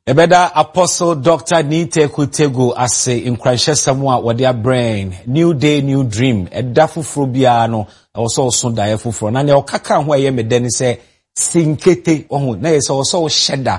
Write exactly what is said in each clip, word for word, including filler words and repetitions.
Ɛbɛda Apostle Doctor Niteku Tego ase nkuranhyɛsɛm a wɔde abrɛn. New day, new dream. Ɛda foforɔ biara no, ɛwɔ sɛ ɔso daeɛ foforɔ. Na nea ɔka ka ho a ɛyɛ me dɛ ne sɛ sinkete ɔho na yɛ sɛ ɔsɛ ɔhyɛ da,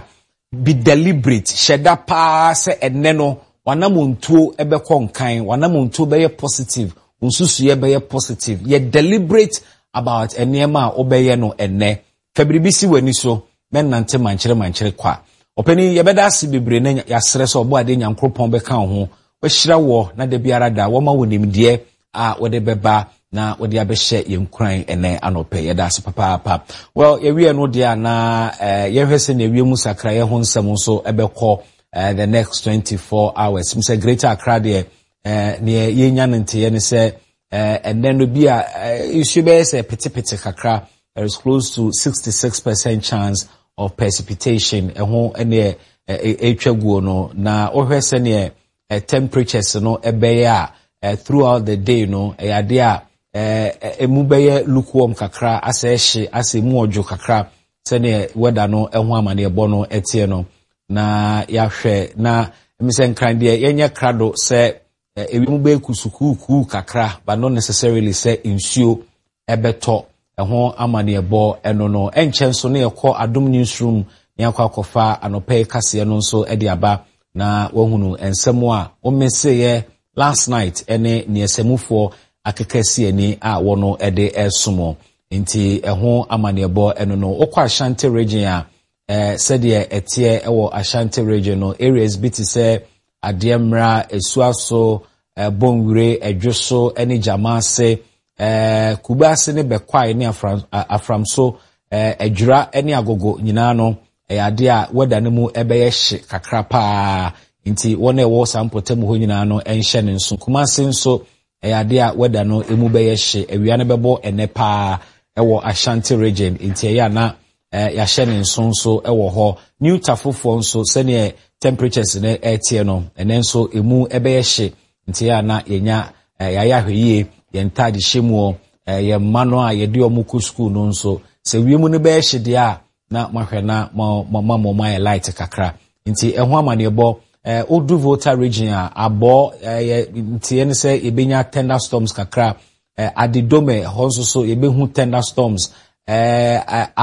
be deliberate, hyɛ da paa sɛ ɛnɛ no wanamontuo ɛbɛkɔ nkan, wanamontuo bɛyɛ positive, nsusuiɛ bɛyɛ positive. Yɛ deliberate about nneɛma a wobɛyɛ no ɛnɛ. Fa biribi si w'ani so, mɛnante mankyere mankyere kwa. Ɔpanin, yɛbɛda ase bebree na yɛasrɛ sɛ ɔbɔ adeɛ Nyankoropɔn bɛka wo ho, wahyira wɔ na da biara da wɔma wo nimdeɛ a wɔde bɛba na wɔde abɛhyɛ yɛn nkuran ɛnɛ anɔpɛ. Yɛda ase papaapa. Well, yɛwie no deɛ a na eh, yɛhwɛ sɛ na ewie mu sakraeɛ ho nsɛm nso ɛbɛkɔ eh, the next twenty-four hours. M sɛ Greater Accra deɛ, eh, neɛ yɛnya no nteɛ ne sɛ eh, ɛnɛ no bi a eh, nsuo bɛyɛ sɛ petepete kakra. There is close to sixty-six percent chance of precipitation. Ɛho ɛneɛ ɛtwa guo no na wohwɛ sɛneɛ temperatures no ɛbɛyɛ a, throughout the day no, ɛyɛ adeɛ a emu bɛyɛ lukewarm kakra, asɛ ɛhye, asɛ emu ɔdwo kakra, sɛneɛ weather no ɛho amaneɛbɔ no ɛteɛ no. Na yɛahwɛ na ɛmi sɛ Nkran deɛ, yɛnyɛ krado sɛ ewiem bɛyɛ kusukuukuu kakra, but not necessarily sɛ nsuo ɛbɛtɔ. Ɛho amaneɛbɔ ɛno no ɛnkyɛn nso ne yɛkɔ Adom Newsroom ne akɔ akɔfa anɔpɛ yi kaseɛ no nso de aba na wahunu nsɛm a wɔmmeseeɛ last night ɛne neɛsɛmufoɔ akeka si ani a wɔno de ɛsom. Nti ɛho amaneɛbɔ ɛno no. Wokɔ Ashanti Region a, ɛɛ sɛdeɛ ɛteɛ ɛwɔ Ashanti Region no, areas bi te sɛ Adeɛ Mmra, Esuaso, Ɛbɔnwire, Ɛdwo ɛne Gyamaase, ɛɛ Kubaase ne Bɛkwae ne Afram Aframso, ɛɛ Adwira ne Agogo nyinaa no, ɛyɛ adeɛ a weather no mu ɛbɛyɛ hye kakra paa. Nti wɔn a ɛwɔ saa mpɔtam hɔ nyinaa no nhyɛ ne nso. Kumase nso, ɛyɛ adeɛ a weather no emu bɛyɛ hye, awia no bɛbɔ ɛnɛ paa ɛwɔ Ashanti Region. Nti ɛyɛ ana ɛɛ yɛahyɛ ne nso nso ɛwɔ hɔ. New Tafofoɔ nso, sɛneɛ temperatures no ɛteɛ no, ɛnɛ nso emu ɛbɛyɛ hye. Nti ɛyɛ ana yɛnya ɛɛ yɛayɛ ahwɛ yie yɛn ntaade hyɛ mu ɛɛ yɛn mma no a yɛde wɔn kɔ sukuu no nso, sɛ wiem no bɛyɛ hye deɛ a, na mahwɛ na mo mo mo mo ayɛ light kakra. Nti ɛho amaneɛbɔ. ɛɛ odu Volta Region a, abɔ ɛyɛ nteɛ ne sɛ yɛbɛnya thunderstorms kakra. ɛɛ Adidome hɔ nso so, yɛbɛhu thunderstorms. ɛɛ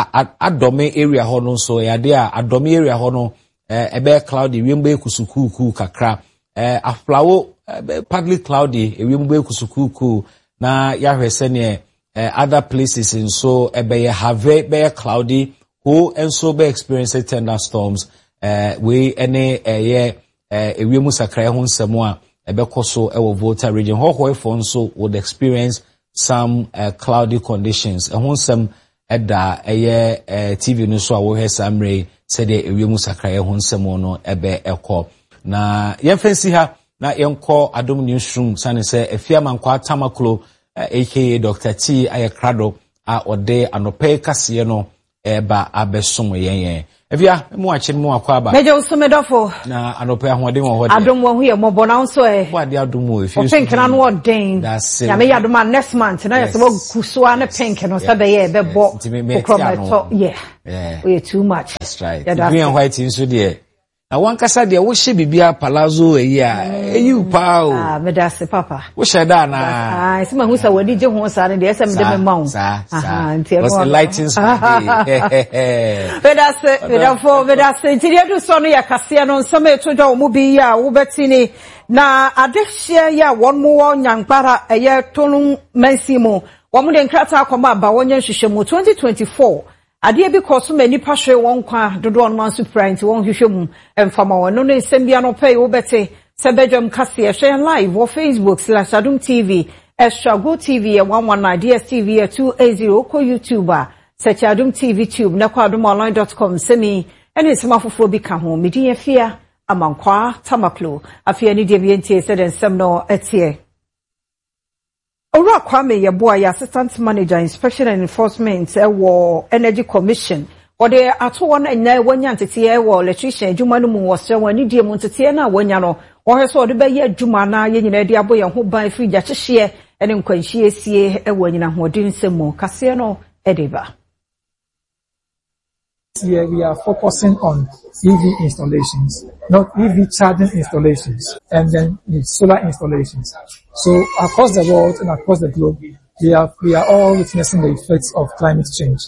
Adɔme area hɔ no nso, ɛyɛ adeɛ a Adɔme area hɔ no ɛɛ ɛbɛyɛ cloudy, wiem bɛyɛ kusukuukuu kakra. ɛɛ Aflawo ɛɛ partly cloudy, ewiem bɛyɛ kusukuukuu. Na yɛahwɛ sɛneɛ ɛɛ other places nso ɛbɛyɛ. Have bɛyɛ cloudy, ho nso bɛ experience thunderstorms. ɛɛ wei ɛne ɛyɛ ɛɛ ewiem sakraeɛ ho nsɛm a ɛbɛkɔ so ɛwɔ Volta Region. Hɔhɔɛfoɔ nso would experience some uh, cloudy conditions. Ɛho nsɛm ɛda ɛyɛ ɛɛ T V no so a wɔhwɛ saa mmerɛ yi, sɛdeɛ ewiem sakraeɛ ho nsɛm no ɛbɛ ɛkɔ. Na yɛmfa nsi ha na yɛnkɔ Adom Newsroom, sane sɛ Efia Mankwa Tamaklo, aka Doctor T, ayɛ krado a ɔde anɔpɛ kaseɛ no ɛreba abɛsom yɛn. Yɛn Efia, mu akyi mu akɔ aba. Mɛgye wo so, medɔfo. Na anɔpɛ ahoɔden wɔ hɔ deɛ? Adom wɔ ho, yɛ mmɔbɔ na nso ɛ. Bɔ ade adom wɔ efie. O pink na no ɔden. Nyame yɛ adom a, next month na yɛ sɛ wɔgu so a ne pink no sɛ bɛyɛ ɛbɛbɔ kokorɔ mɛtɔ yɛ. Oyɛ too much. That's right. Green and white nso deɛ, na wankasa deɛ wohyɛ biribiara palazzo eyi a eyi wo paa o. Ah, meda ase papa. Wohyɛ da anaa? Ah, ɛsɛ ma hu sɛ w'ani gye ho saa no deɛ, ɛsɛ mede me ma wo. Saa saa, because it lightens my day. Meda ase, medafo, meda ase. Nti deɛ edu so no yɛ kaseɛ no nsɛm a ɛto dwa wɔ mu bi yi a wobɛti ni. Na adehyeɛ yi a wɔn mo wɔ Nyankpara, ɛyɛ Tolon mansin mu, wɔn de nkrataa akɔma aba wɔnyɛ nhwehwɛmu. twenty twenty-four adeɛ bi kɔ so ma nipa hwere wɔn nkwa dodoɔ no nso pira, nti wɔn hwehwɛ mu mfama wɔn. Ɛno ne nsɛm bi anɔpɛ yi wobɛte sɛ bɛdwam kaseɛ. Hwɛ yɛn live wɔ Facebook slash Adom T V, Extra Go T V yɛ one one nine, D S T V yɛ two eight zero. Kɔ YouTube a, search Adom T V Tube, na kɔ adomonline dot com. Nsɛm yi ɛne nsɛm afoforɔ bi ka ho. Medin yɛ Fia Amankwaa Tamaklo. Afei ani deɛ bi yɛntie sɛdeɛ nsɛm no ɛteɛ. Owura Kwame Yɛboa yɛ Assistant Manager, Inspection and Enforcement ɛwɔ Energy Commission. Wɔde ato wɔn ɛnɛ wɔanya nteteɛ wɔ electrician adwuma no mu. Wɔsrɛ wɔn anidie mu, nteteɛ no a wɔanya no, wɔhwɛ sɛ wɔde bɛyɛ adwuma na yɛn nyinaa de abɔ yɛn ho ban firi gyakyehyeɛ ne nkwanhyie sie wɔ anyina ahoɔden nsɛm mu. Kaseɛ no ɛde ba. Here we are focusing on E V installations, not E V charging installations, and then solar installations. So across the world and across the globe, we are, we are all witnessing the effects of climate change.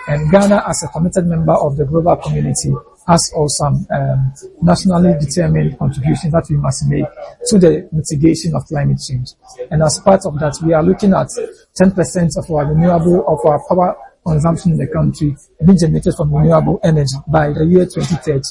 And Ghana, as a committed member of the global community, has also some um, nationally determined contributions that we must make to the mitigation of climate change. And as part of that, we are looking at ten percent of our renewable, of our power consumption in the country being generated from renewable energy by the year twenty thirty.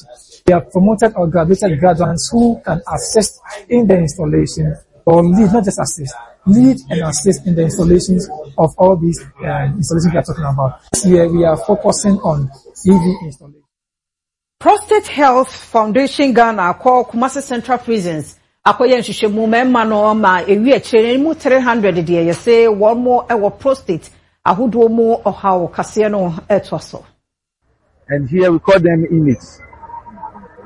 We have promoted or graduated graduates who can assist in the installation or lead, not just assist, lead and assist in the installations of all these uh, installations we are talking about. This year we are focusing on E V installation. Prostate Health Foundation Ghana akɔ Kumasi Central Prisons akɔyɛ nhwehwɛmu mmarima no ma ewi akyire no mu three hundred deɛ yɛsɛ wɔn mo wɔ prostate ahodoɔ mu ɔhaw kaseɛ no ɛtoa so. And here we call them inmates.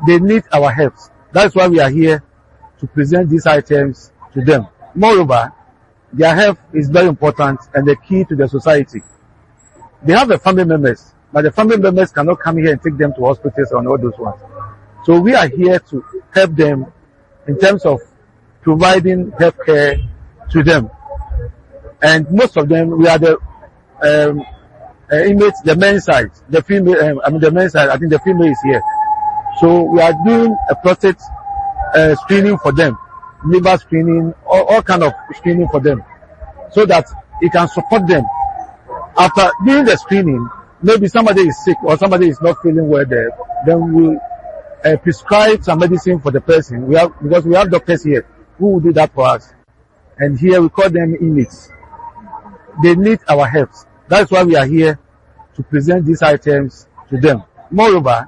They need our help. That's why we are here to present these items to them. Moreover, their health is very important and the key to the society. They have the family members, but the family members cannot come here and take them to hospitals and all those ones. So we are here to help them in terms of providing health care to them. And most of them, we are the um, uh, inmates, the men's side, the female, um, I mean the men's side, I think the female is here. So we are doing a prostate uh, screening for them, liver screening, all, all kind of screening for them, so that it can support them. After doing the screening, maybe somebody is sick or somebody is not feeling well there, then we uh, prescribe some medicine for the person. We have, because we have doctors here who will do that for us. And here we call them inmates. They need our help. That's why we are here to present these items to them. Moreover,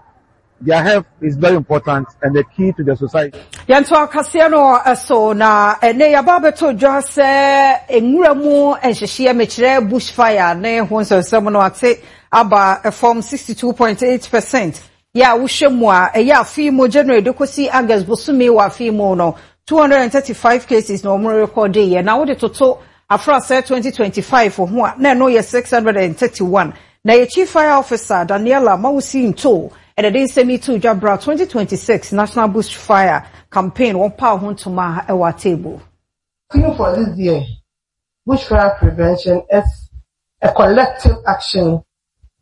their health is very important and the key to the society. Yɛnto akaseɛ no so na ɛnɛ yɛaba abɛto dwa sɛ nwura mu nhyehyeɛ, mekyerɛ bush fire ne ho nsɛnsɛm no, ate aba fam sixty-two point eight percent. Yɛ a wohwɛ mu a, ɛyɛ afe mu January de kɔsi August bosome wɔ afe mu no, two hundred and thirty-five cases na wɔn rekɔde yɛ, na wode toto afrasɛ twenty twenty-five ho a, na ɛno yɛ six hundred and thirty-one. Na yɛ Chief Fire Officer Daniela Mawusi Nto ɛna de nsɛm yi to dwa bra twenty twenty-six National Bush Fire Campaign wɔn pa ho ntoma ɛwɔ atable. Theme for this year, bushfire prevention, is a collective action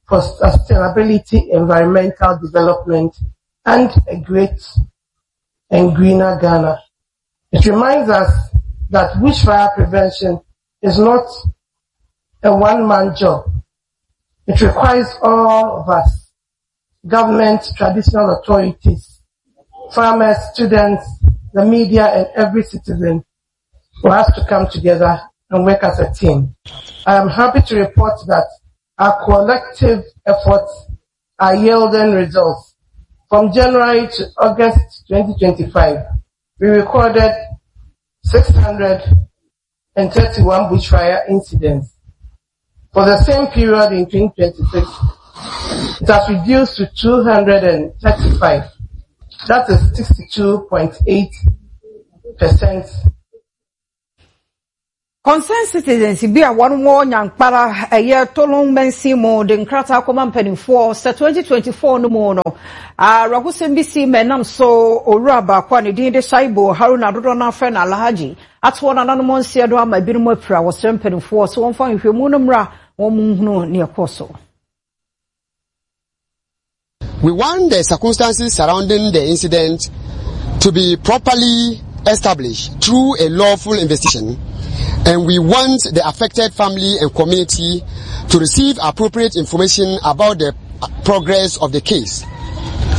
for sustainability, environmental development, and a great and greener Ghana. It reminds us that bushfire prevention is not a one-man job. It requires all of us, government, traditional authorities, farmers, students, the media, and every citizen who has to come together and work as a team. I am happy to report that our collective efforts are yielding results. From January to August twenty twenty-five, we recorded six hundred thirty-one bushfire incidents. For the same period in twenty twenty-six, it has reduced to two hundred thirty-five. That is sixty-two point eight percent. Concerned citizens bi a wɔn wɔ Nyankpara, ɛyɛ Tolon mansin mu, de nkrataa kɔma mpanimfoɔ sɛ twenty twenty-four no mu no, awerɛhosɛm bi si ma ɛnam so owura baako a ne din de Shaibo Haruna, dodoɔ no afrɛ no Alhaji, atoɔ nananom nseɛ do ama ebinom apira. Wɔsrɛ mpanimfoɔ sɛ wɔmfa nhwehwɛmu no mmra wɔn mu nhunu nea ɛkɔɔ so. We want the circumstances surrounding the incident to be properly established through a lawful investigation, and we want the affected family and community to receive appropriate information about the progress of the case.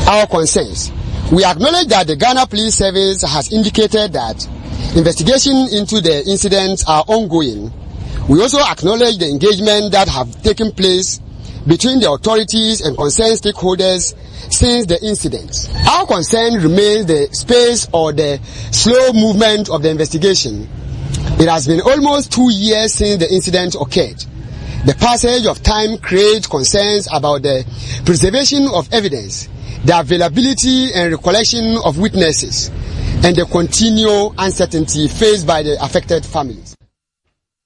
Our concerns. We acknowledge that the Ghana Police Service has indicated that investigation into the incidents are ongoing. We also acknowledge the engagement that have taken place between the authorities and concerned stakeholders since the incident. Our concern remains the space or the slow movement of the investigation. It has been almost two years since the incident occurred. The passage of time creates concerns about the preservation of evidence, the availability and recollection of witnesses, and the continual uncertainty faced by the affected families.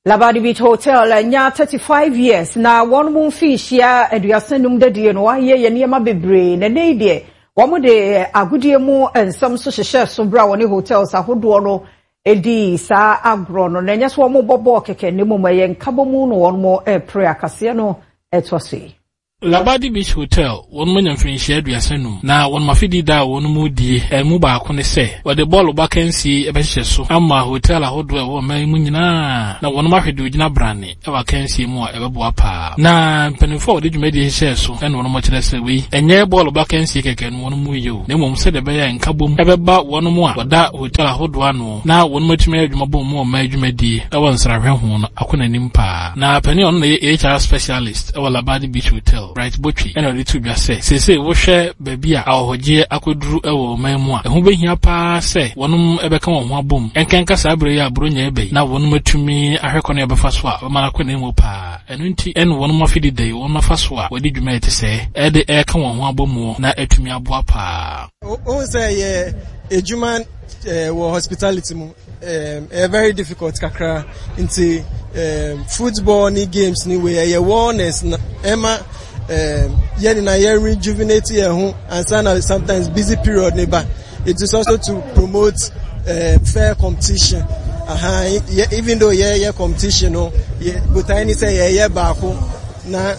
Labadi Beach Hotel anya thirty-five years na wɔn mu mfinhyia aduasa num dadie no wɔayɛ yɛ nneɛma bebree na ne deɛ wɔn de agodie mu nsɛm so hyehyɛ so bere a wɔne hotels ahodoɔ no edi saa agorɔ no na ɛnyɛ so wɔn bɔ bɔɔl kɛkɛ ne mu ɛyɛ nkabɔmu no wɔn mo ɛpere akaseɛ no ɛtɔ so yi. Labadi Beach Hotel, wɔn mu anya mfirinhyia aduasa num, na wɔn afidi da a wɔn mu die ɛmu baako ne sɛ wɔde bɔɔlo akansie ɛbɛhyehyɛ so ama hotel ahodoɔ a ɛwɔ ɔman yi mu nyinaa, na wɔn ahwɛ de ogyina brane ɛwɔ akansie mu a ɛbɛboa paa. Na mpanimfoɔ a wɔde dwumadie hyehyɛɛ so ɛna wɔn kyerɛ sɛ wei ɛnyɛ bɔɔlo akansie kɛkɛ no wɔn mu yie o, na mmom sɛdeɛ ɛbɛyɛ nkabom ɛbɛba wɔn mu a wɔda hotel ahodoɔ ano na wɔn mu atumi ayɛ adwuma bɔ mu ɔman dwumadie ɛwɔ nsrahwɛ ho no akɔ n'anim paa. Na panin a ɔno na yɛ H R specialist ɛwɔ Labadi Beach Hotel, Bright Botwi, ɛna ɔde to dwa sɛ seesei wohwɛ baabi a ahɔhɔgyeɛ akɔduru ɛwɔ ɔman mu a, ɛho bɛhia paa sɛ wɔnom ɛbɛka wɔn ho abom, ɛnkanka saa berɛ yi a Buronya ɛbɛ yi, na wɔnom atumi ahwɛ kwan a ɛbɛfa so a bɛma no akɔ n'anim paa. Ɛno nti ɛne wɔnom afidi da yi wɔnom afa so a wɔde dwuma ɛte sɛ ɛde ɛreka wɔn ho abɔ mu na atumi aboa paa. Wohu sɛ yɛ edwuma wɔ hospitality mu ɛyɛ very difficult kakra, nti football ne games ne wei ɛyɛ wellness na ɛma yɛn nyinaa yɛ rejuvenate yɛn ho ansa na sometimes busy period ne ba. It is also to promote uh, fair competition. uh-huh. Even though yɛyɛ competition no, botae ne sɛ yɛyɛ baako na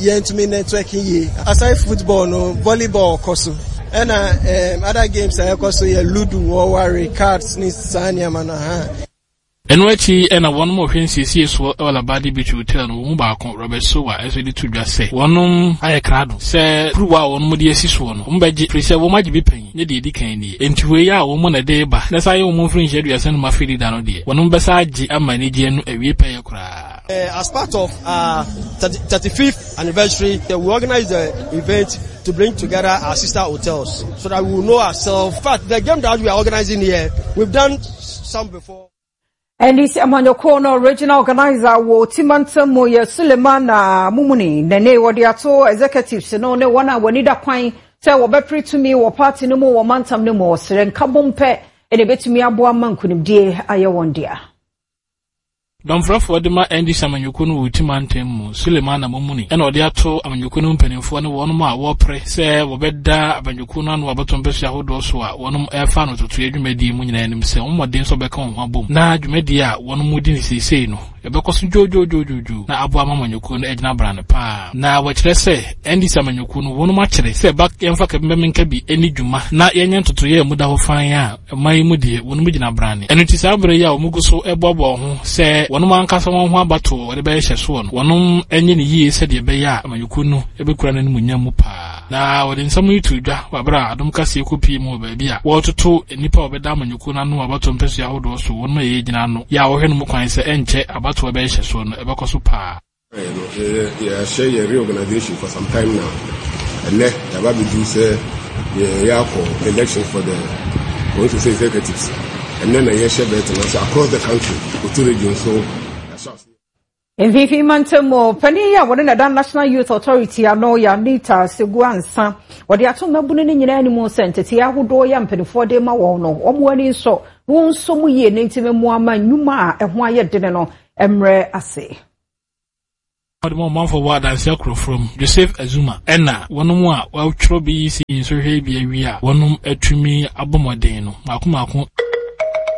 yɛntumi networking yie. Aside football no, volleyball kɔ so, ɛna um, other games a ɛkɔ so yɛ ludo, wɔware cards ne saa nneɛma no ha. Ɛno akyi ɛna wɔn a wɔhwɛ nsiesie soɔ ɛwɔ Labadi Beach Hotel no, wɔn mu baako, Robert Sowa, ɛnso de to dwa sɛ wɔnom ayɛ krado sɛ kuruwa a wɔnom de asi soɔ no wɔn bɛgye, firi sɛ wɔn agye bi pɛn ne deɛ edi kan nie, nti wei a wɔn na de ba na saa yɛ wɔn mfiri nhyɛ aduasa no mu afei da no deɛ, wɔnom bɛsa agye ama anigyeɛ no awie pɛyɛ koraa. Uh, as part of our thirty-fifth anniversary, uh, we organized the event to bring together our sister hotels so that we will know ourselves. In fact, the game that we are organizing here, we've done some before. N D C amanyɔkuo no regional organizer wɔ Timantam mu yɛ Suleiman na Mumuni na ne wɔde ato executives no ne wɔn a wɔn da kwan sɛ wɔbɛpere tumi wɔ party no mu wɔ mantam no mu, ɔsrɛ nkabom pɛ ɛna ebɛtumi aboa ma nkonimdie ayɛ wɔn dea. Dɔmfrɛfoɔ de ma N D C amanyɔkuo no wɔ Timantam mu, Suleiman Mumuni, ɛna ɔde ato amanyɔkuo no mpanimfoɔ ne wɔnom a wɔrepere sɛ wɔbɛda amanyɔkuo no ano abɛtɔ mpɛsua ahodoɔ so a wɔnom ɛrefa no totoeɛ dwumadie mu nyinaa anim sɛ wɔn mmɔden nso bɛka wɔn ho abom na dwumadie a wɔnom di ne seesei no ɛbɛkɔ so dwoodwoodwoodwoo na aboa ma amanyɔkuo no agyina brane paa. Na wɔkyerɛ sɛ N D C amanyɔkuo no wɔnom akyerɛ sɛ ba yɛmfa kabɛmɛnka bi ani dwuma na yɛnyɛ ntotoeɛ a mu da hɔ fan a ɔman yi mu deɛ wɔnom gyina brane. Ɛno nti saa berɛ yi a wɔn gu so ɛboaboa wɔn ho sɛ wɔnom ankasa wɔn ho abatoɔ wɔde bɛyɛ hyɛ soɔ no, wɔnom nyɛ ne yie sɛdeɛ ɛbɛyɛ a amanyɔkuo no ɛbɛkura n'animuonyam mu paa. Na wɔde nsɛm yi to dwa wɔ abere a Adom Kaseɛ kɔpie mu wɔ baabi a wɔretoto nnipa a wɔbɛda amanyɔkuo no ano abatoɔ mpɛsua ahodoɔ so, wɔnom a yɛyɛ gyina ano yɛ a wɔhwɛ no mu kwan sɛ ɛnkyɛ abatoɔ bɛyɛ hyɛ soɔ no ɛbɛkɔ so paa. Yɛahyɛ yɛ reorganization for some time now. Ɛnɛ yɛaba bɛduru sɛ yɛyɛ akɔ election for the constituency executives. Ɛnɛ na yɛhyɛ bɛɛte no ase across the country, Oti Region so yɛahyɛ ase. Mfimfini mantam mu panin yi a wɔne nada National Youth Authority ano yɛ Anita Segu Ansa, wɔde ato mmabunu no nyinaa anim sɛ nteteɛ ahodoɔ yɛ mpanimfoɔ de ma wɔn no, wɔn ani nsɔ na wɔn nso mu yie ne ntumi mu ama nnwuma a ɛho ayɛ dene no mmerɛ ase. Wɔde ma ɔmanfoɔ wɔ adanse akorɔforɔ mu, Joseph Azuma, ɛna wɔnom a wɔatwerɛ B E C nsɔhwɛ bi awie a wɔnom atumi abɔ mmɔden no mako mako.